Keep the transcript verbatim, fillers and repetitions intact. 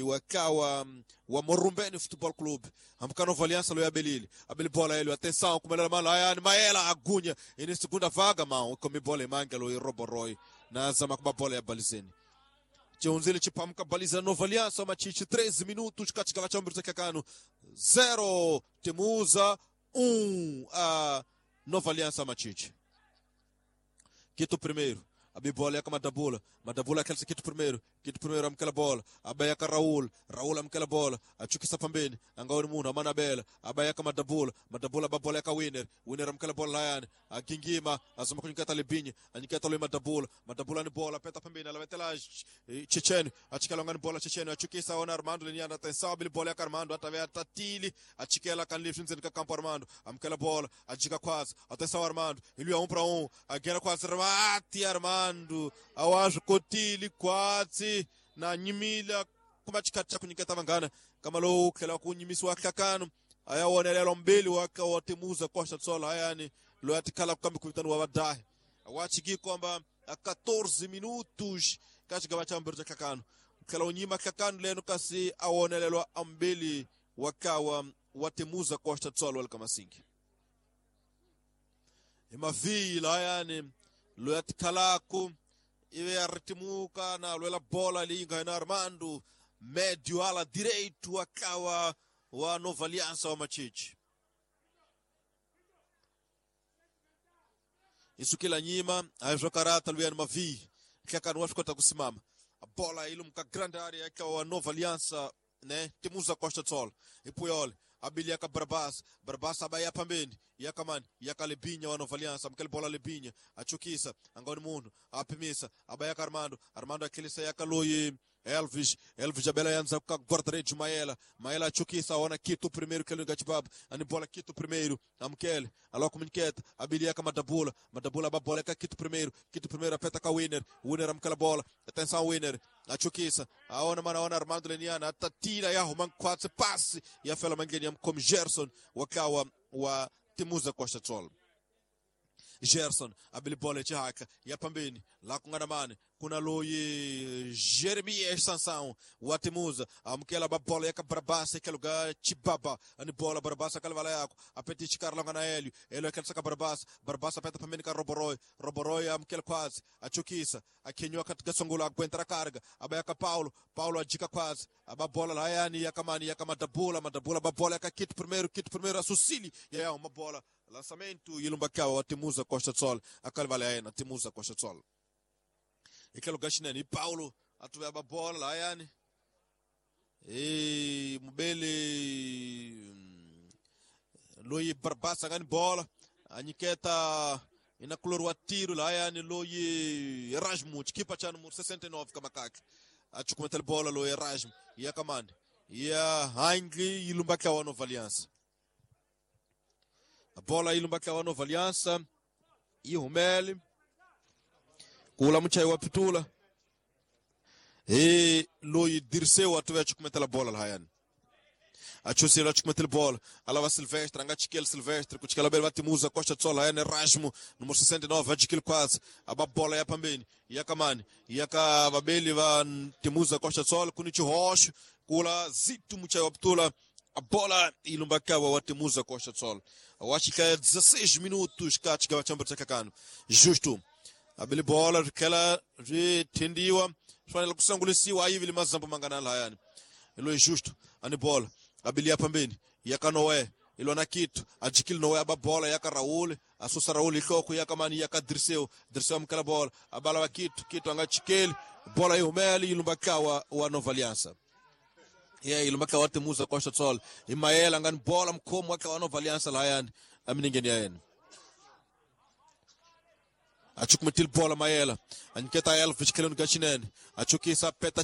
Wakawa wa Morumbeni Futebol Clube. Amka Nova Aliança lo Abelili. Abeli bola ele, atenção, como ela mala, Maela agunya. E na segunda vaga, mão, come bola e manga lo Roboroi. Na zama kuma bola ya balizeni. Chonzile chipamka baliza Nova Aliança, machichi treze minutos, katika chambro zakakano. zero Temuza um a Nova Aliança machichi. Quito primeiro. A bola é com a Madabula. Madabula aquele quito primeiro. Quito primeiro amkela bola. Abaya ka Raul. Raul amkela bola. Achukisa pambeni. Angaoni muno amanabela. Abaya ka Madabula. Madabula babola ka Winner. Winner amkela bola layani. Agingima azama kunyikata Lebinha. Anyikata lo Madabula. Madabula ni bola peta pambeni. Alavetela Checheno. Achikela ngani bola Checheno. Achukisa ona Armando Liniana atenção abili bola ya Armando atavea tatili. Achikela kan livre nzeni ka campo Armando. Amkela bola. Ajika quase. Atenção Armando. Ele é um para um. Agera quase Armati Armando. Awazo kotili kwatsi na nyimila kumachikati kunyiketa mangana kama lo khela kunyimiswa hlakano ayawonelelo mbili waka watemuza Costa do Sol hayani lo yatikhala kukambi kuvitano wa vadahi wachiki kwamba a quatorze minutos kachiga chambiro cha hlakano khela unyima hlakano leno kasi awonelelwa ambili wakawa watemuza Costa do Sol walikamasingi imavila hayani loyatikhalako ive aritimuka na lwela bola linga na Armando médio ala direito akawa wa Nova Aliança wa Machichi isso kila nyima ajokarata luyani mavi kaka kota kusimama a bola ilumka grande área akawa wa Nova Aliança né Temuza Costa do Sol e Puyol Abiliaka Barbas, Barbas abaya pambeni, yakamani, yakalebinha wa Nova Aliança, amkele bola lebinha, achukisa, angoni muno, apimisa, abaya Armando, Armando akilisa yakaloyi Elvis, Elvis Abela yanza kwa guarda-redes Maela, Maela achukisa, ona Quito primeiro que ele ani bola Quito primeiro, amkele, alô comuniqueta, abiliaka Madabula, Madabula babola ka Quito primeiro, Quito primeiro apeta ka Winner, Winner amkela bola, atenção Winner, achukisa, aona mana ona Armando Leniana, atatira ya roman quatro passe, e a fela mangeni como Gerson, wakawa wa Temuza Costa do Sol. Gerson abili bola chihaka ya pambeni la kunganamani kuna loyi Jeremias Sansão wa Temuza amkela babola ya Barabasa que lugar Chibaba ani bola Barabasa kalvala yako apeti chikarla ngana Hélio Hélio aquele saka Barabasa Barabasa peta pambeni ka Roboroi Roboroi amkela quase achukisa akenywa katika songola aguenta carga abayaka Paulo Paulo ajika quase ababola la yani yakamani yakamadabula madabula babola ka kit primeiro kit primeiro a Sucili e é uma bola lançamento ilumbakawa wa Temuza Costa do Sol akalvala yena Temuza Costa do Sol ikelo gashineni e Paulo atuve a bola lá yani e mubele loyi Barbasa ngani bola anyiketa inakulorwa tiro lá yani loyi Erasmo chikipa cha número sessenta e nove kamakaka achukumeta bola loyi Erasmo yakamani ya Heinle ilumbakawa Nova Aliança a bola ilumbakawa Nova Aliança e Rumeli kula mchai wa pitula e loyi Dirceu atuve achukumetela bola lahayani achuselo achukumetela bola alava Silvestre angachikel Silvestre kuchikela bele batimuza Costa do Sol hayani Erasmo número sessenta e nove ajikil quase aba bola ya pambeni yakamani yaka babeli va Temuza Costa do Sol kunichi rocho kula zito mchai wa pitula a bola ilumbakawa wa Temuza Costa do Sol awachika dezesseis minutos katika chambro chakakano justo abili bola rikela rithindiwa fanele kusangulisiwa ayivili mazambo mangana layani ilo justo ani bola abili yapambeni yakanowe ilo na kitu ajikili nowe aba bola yaka Raul asusa Raul ihloko yakamani yaka Dirceu Dirceu amkela bola abala wa kitu kitu angachikeli bola ihumeli ilumbakawa wa Nova Aliança yeah ilumbakawa Temuza Costa do Sol imaela ngani bola mkhomo waka wa Nova Aliança layani aminingeni yena achukumetil bola Maela aniketa Elvis kelon gachinene achukisa peta